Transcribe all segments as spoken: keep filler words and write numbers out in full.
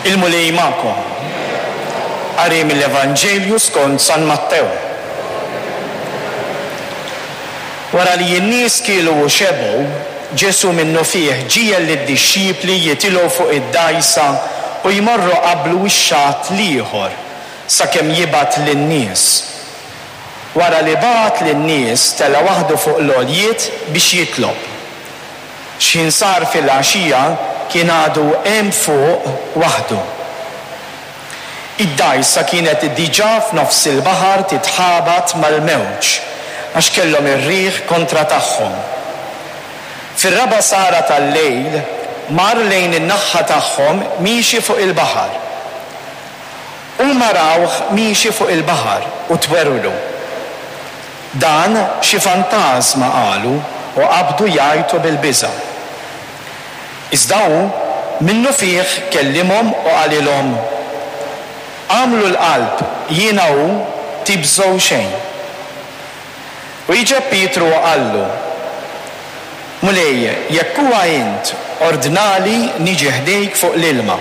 Il-Mulej magħkom. Qari mill-Evanġelju skont San Mattew. Wara li n-nies kielu u xebgħu, Ġesù minnufih ġiegħel lid-dixxipli jitilgħu fuq id-dgħajsa u jmorru qablu x-xatt l-ieħor, sakemm jibgħat lin-nies. Wara li bagħat lin-nies, tela' waħdu fuq l-għoljiet biex jitlob. X'ħin sar filgħaxija kien għadu hemm fuq waħdu. Id-dgħajsa kienet diġà f'nofs il-baħar titħabat mal-mewġ, għax kellhom ir-riħ kontra tagħhom. Fir-raba' sara tal-lejl mar lejn in-naħa tagħhom miexi fuq il-baħar. Huma rawh miexi fuq il-baħar u twerwru. Dan xi fantażma, qalu, u qabdu jgħajtu bil-biża'. Iżda hu minnufih kellimhom u qalilhom, Agħmlu l-qalb, jiena hu, tibżgħu xejn. U wieġeb Pietru u qallu, Mulej, jekk huwa int, ordnali niġi ħdejk fuq l-ilma.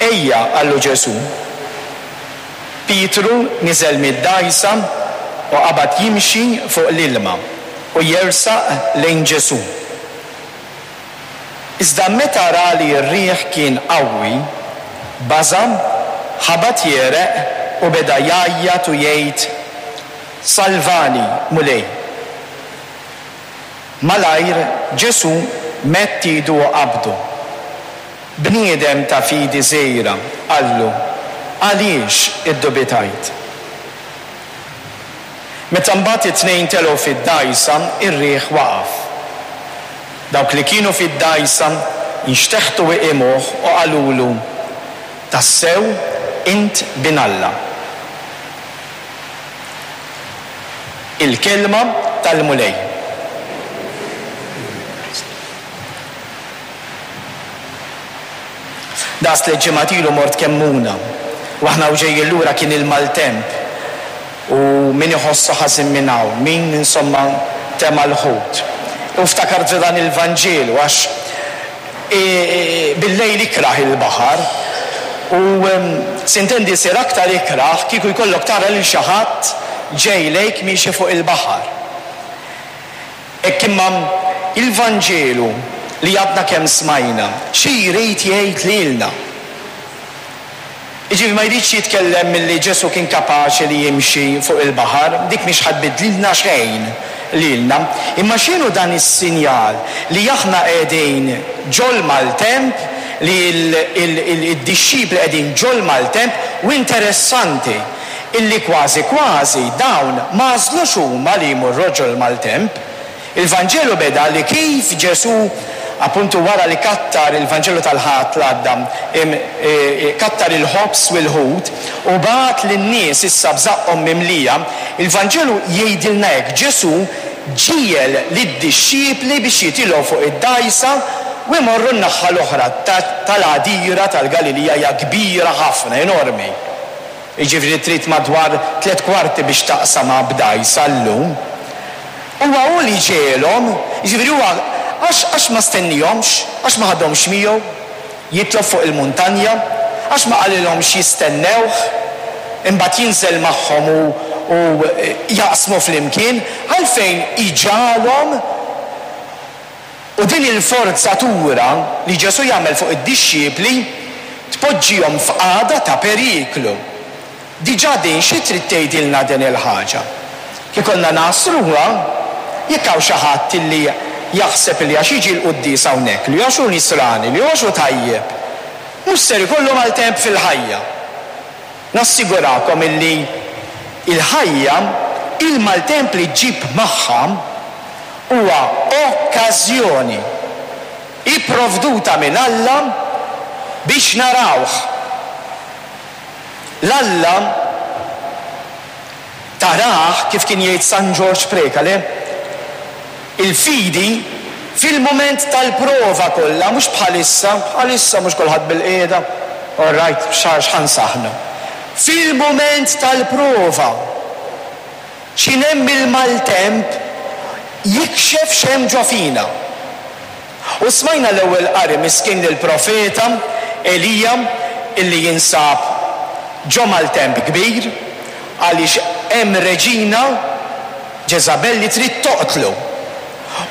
Ejja, qallu Ġesù. Pietru niżel mid-dgħajsa u qabad jimxi fuq l-ilma u jersaq lejn Ġesù. Iżda meta ra li r-riħ kien qawwi, baża', ħabat jegħreq u beda jgħajjat u jgħid, Salvani, Mulej! Malajr Ġesù medd idu u qabdu. Bniedem ta' fidi żgħira, qallu, għaliex iddubitajt? Meta mbagħad it-tnejn telgħu fid-dgħajsa, ir-riħ waqaf. Dawk li kienu fid-dgħajsa nxteħtu iqimuh u qalulu, Tassew int Bin Alla. Il-kelma tal-Mulej. Daqs tliet ġimgħat ilu mort Kemmuna u aħna u ġejjin lura kien il-maltemp u min iħossu ħażin minn hawn, min insomma tema' l-ħut. U ftakart f'dan il-Vanġelu għax bil-lejl ikrah il-baħar u sintendi jsir aktar ikrah kieku jkollok tara lil xi ħadd ġej lejk miexi fuq il-baħar. Hekk imma il-Vanġelu li għadna kemm smajna, xi jrid jgħid lilna? Jiġifieri ma jridx jitkellem milli Ġesù kien kapaċi li jimxi fuq il-baħar, dik mhix ħa tbiddlilna xejn lilna. Imma x'inhu dan is-sinjal li aħna qegħdin ġol-maltemp, li d-dixxipli qegħdin ġol-maltemp, u interessanti illi kważi kważi dawn ma għażlux huma li jmorru ġol-maltemp. Il-Vanġelu beda li kif Ġesù, appuntu wara li kattar, il-Vanġelu tal-Ħadd l-għadda, kattar il-ħobż u l-ħut u bagħat lin-nies issa b'żaqqhom mimlija, il-Vanġelu jgħidilna hekk, Ġesù ġiegħel lid-dixxipli biex jitilgħu fuq id-dgħajsa u jmorru n-naħa l-oħra tal-għadira tal-Galilija, hija kbira ħafna, enormi. Jiġifieri trid madwar tliet kwarti biex taqsamha b'dgħajsa llum. Huwa hu li ġegħelhom, jiġifieri huwa għax għax ma stennihomx, għax ma ħadhomx miegħu jitlob fuq il-muntanja, għax ma qalilhomx jistennewh, imbagħad jinżel magħhom u u jaqsmu flimkien, għalfejn iġagħalhom? U din il-forzatura li Ġesù jagħmel fuq id-dixxipli tpoġġihom f'qagħda ta' periklu. Diġà din xi trid tgħidilna din il-ħaġa? Kif konna nagħsruha, jekk hawn xi ħadd illi jaħseb li għax jiġi l-quddies hawnhekk, li għax hu nisrani, li għax hu tajjeb, mhux ser ikollu maltemp fil-ħajja. Nassigurakom illi il-ħajja, il-maltemp li ġġib magħha huwa okkażjoni ipprovduta minn Alla biex narawh. L-Alla tarah, kif kien jgħid San Ġorġ Preca, le? Il-fidi fil-mument tal-prova kollha, mhux bħalissa, bħalissa mhux kulħadd bil-qiegħda, all right, x'ħa nsaħħnu. Fil-mument tal-prova, x'ħin hemm il-maltemp jikxef x'hemm ġo fina. U smajna l-ewwel qari miskin lill-profeta Elija illi jinsab ġo maltemp kbir għaliex hemm reġina Ġeżabel li trid toqtlu.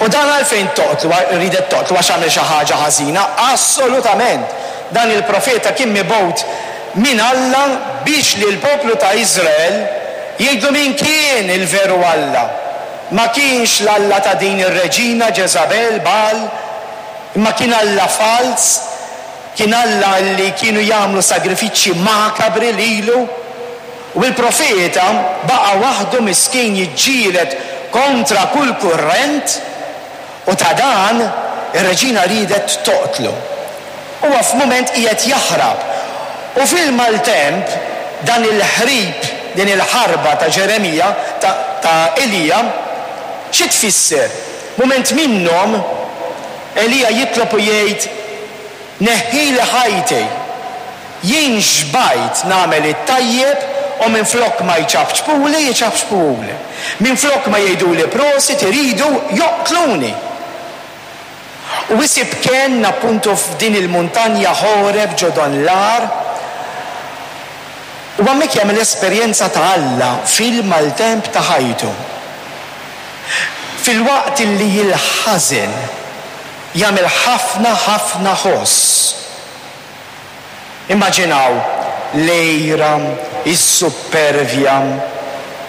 U dan għalfejn toqtlu, ridet toqtlu għax għamel xi ħaġa ħażina? Assolutament! Dan il-profeta kien mibgħut minn Alla biex lill-poplu ta' Iżrael jgħidlu min kien il-veru Alla. Ma kienx l-Alla ta' din ir-reġina Ġeżabel, Baal, imma kien Alla falz, kien Alla li kienu jagħmlu sagrifiċċji makabri lilu. U l-profeta baqa' waħdu miskin jiġġieled kontra kull kurrent, u ta' dan ir-reġina riedet toqtlu. Huwa f'mument qiegħed jaħrab. U fil-maltemp dan il-ħrib, din il-ħarba ta' Ġeremija, ta', ta' Elija, xi tfisser? Mument minnhom Elija jitlob u jgħid, neħħili ħajti, jien xbajt nagħmel it-tajjeb u minflok ma jċapċpuli, jċapċpuli. Minflok ma jgħiduli prosit, iridu joqtluni. U isib kenn appuntu f'din il-muntanja Ħoreb ġo dan l-għar, u hemmhekk jagħmel esperjenza ta' Alla fil-maltemp ta' ħajtu. Fil-waqt li l-ħażen jagħmel ħafna ħafna ħoss. Immaġinaw l-għira, is-suppervja,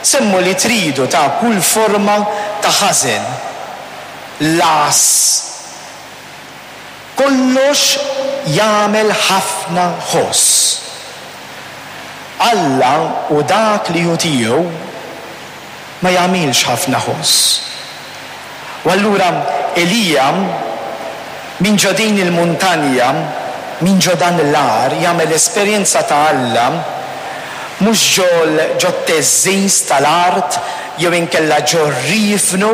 semmu li tridu ta' kull forma ta' ħażen, l-għażż. Kollox jagħmel ħafna ħoss. Alla u dak li hu tiegħu ma jagħmilx ħafna ħoss. U allura Elija minn ġo din il-muntanja, minn ġo dan l-għar, jagħmel esperjenza ta' Alla mhux ġol ġo t-teżżiż tal-art jew inkella ġo r-riefnu,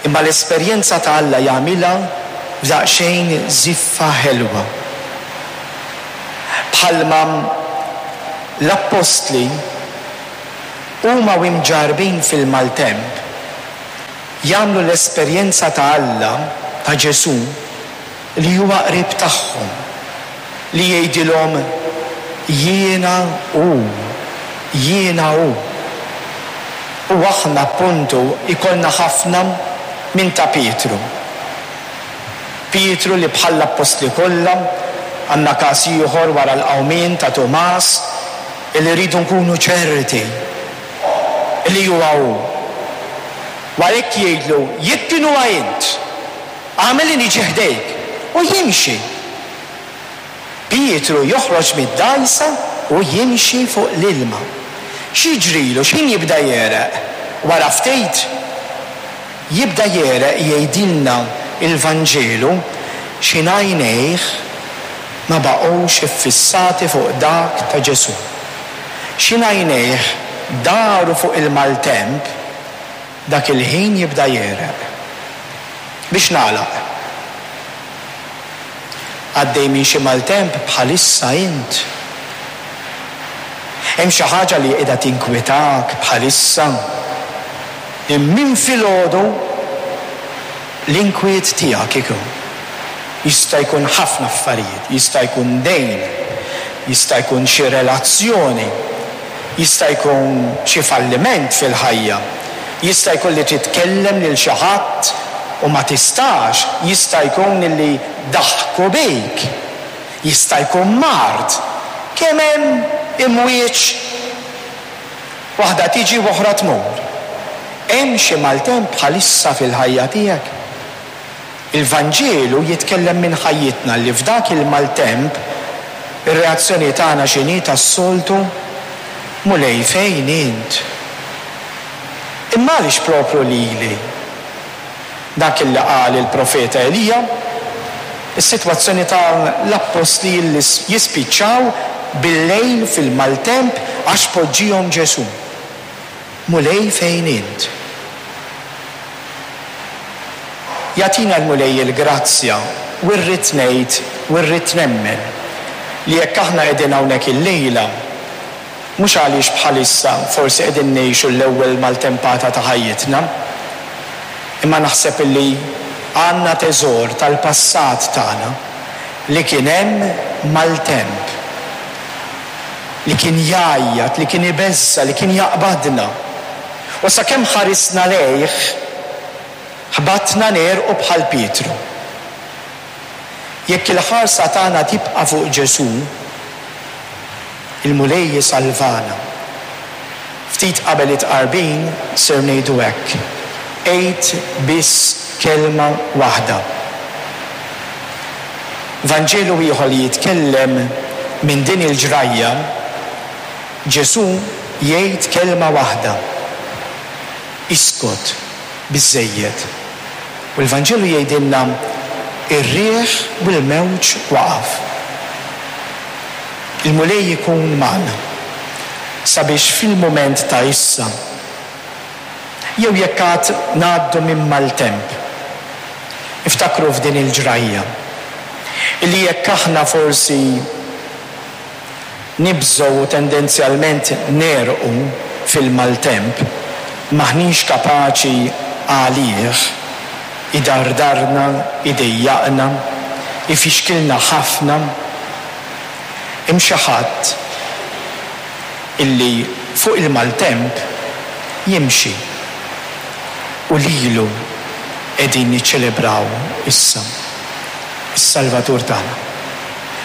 imma l-esperjenza ta' Alla jagħmilha f'daqsxejn żiffa ħelwa. Bħalma l-appostli huma u imġarbin fil-maltemp jagħmlu l-esperjenza ta' Alla, ta' Ġesù, li huwa qrib tagħhom, li jgħidilhom jiena hu, jiena hu. U aħna appuntu ikollna ħafna minn ta' Pietru. Pietru li bħall-appostli kollha, għandna każ ieħor wara l-qawmien ta' Tumas, illi rridu nkunu ċerti li huwa hu. U għalhekk jgħidlu, jekk kien huwa int, agħmel li niġi ħdejk, u jimxi. Pietru joħroġ mid-dgħajsa u jimxi fuq l-ilma. X'jiġrilu? X'ħin jibda jegħreq? Wara ftit jibda jegħreq, jgħidilna il-Vanġelu, x'ħin għajnejh ma baqgħux iffissati fuq dak ta' Ġesù. X'ħin għajnejh daru fuq il-maltemp, dak il-ħin jibda jegħreq. Biex nagħlaq, għaddej minn xi maltemp bħalissa int? Hemm xi ħaġa li qiegħda tinkwetak bħalissa? Minn filgħodu l-inkwiet tiegħek ikun. Jista' jkun ħafna affarijiet, jista' jkun dejn, jista' jkun xi relazzjoni, jista' jkun xi falliment fil-ħajja, jista' jkun li titkellem lil xi ħadd u ma tistax, jista' jkun li daħku bik, jista' jkun mard. Kemm hemm imwieġ, waħda tiġi u oħra tmur. Hemm xi maltemp bħalissa fil-ħajja tiegħek? Il-Vanġelu jitkellem minn ħajjitna li f'dak il-maltemp ir-reazzjoni tagħna x'inhi tas-soltu? Mulej fejn int? Imma għaliex propru lili? Dak illi qal il-profeta Elija, is-sitwazzjoni tal-appostli li jispiċċaw bil-lejl fil-maltemp għax poġġihom Ġesù. Mulej fejn int? Jagħtina l-Mulej il-grazzja u rrid ngħid u rrid nemmen li jekk aħna qegħdin hawnhekk illejla, mhux għaliex bħalissa forsi qegħdin ngħixu l-ewwel maltempata ta' ħajjitna, imma naħseb illi għandna teżor tal-passat tagħna li kien hemm maltemp, li kien jgħajjat, li kien ibeżża', li kien jaqbadna. U sakemm ħarisna lejh, ħbatna negħrqu bħal Pietru. Jekk il-ħarsa tagħna tibqa' fuq Ġesù, il-Mulej jisalvana. Ftit qabel it-tqarbin ser ngħidu hekk: għid biss kelma waħda. Vanġelu ieħor li jitkellem minn din il-ġrajja, Ġesù jgħid kelma waħda: iskot, biżżejjed. U l-Vanġelu jgħidilna ir-riħ u l-mewġ waqaf. Il-Mulej ikun magħna sabiex fil-mument ta' issa, jew jekk għad ngħaddu minn maltemp, iftakru f'din il-ġrajja, illi jekk aħna forsi nibżgħu u tendenzjalment negħrqu fil-maltemp, m'aħniex kapaċi għalih, idardarna, idejjaqna, ifixkilna ħafna. Hemm xi ħadd illi fuq il-maltemp jimxi u lilu qegħdin niċċelebraw issa, is-Salvatur tagħna.